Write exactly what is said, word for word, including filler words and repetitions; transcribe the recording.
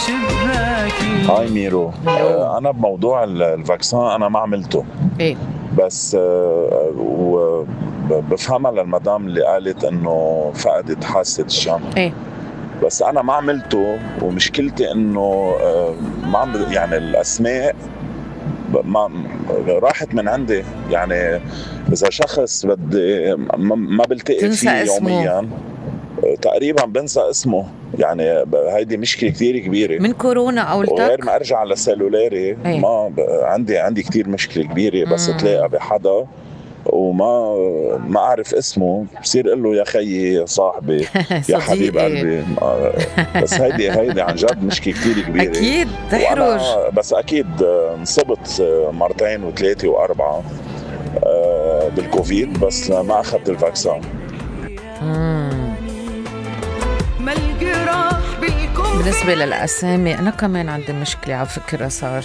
شباكي. هاي ميرو. آه أنا بموضوع الفاكسان أنا ما عملته. إيه بس آه وبفهمها للمدام اللي قالت إنه فقدت حاسة الشم. إيه بس أنا ما عملته، ومشكلتي إنه آه ما عم يعني الأسماء ما راحت من عندي. يعني إذا شخص بدي ما بلتقي فيه يوميا تقريبا بنسى اسمه. يعني هيدي مشكلة كتير كبيرة من كورونا أو التك. وغير ما أرجع لسيلولاري أيه. ما عندي عندي كتير مشكلة كبيرة. بس تلاقى بحدا وما ما أعرف اسمه بصير قل له يا خيي يا صاحبي يا حبيب قلبي. بس هيدي هيدي عن جد مشكلة كتير كبيرة. أكيد تحرج. بس أكيد انصبت مرتين وثلاثة وأربعة بالكوفيد بس ما أخذت الفاكسان. بالنسبة للأسامي أنا كمان عندي مشكلة على فكرة. صار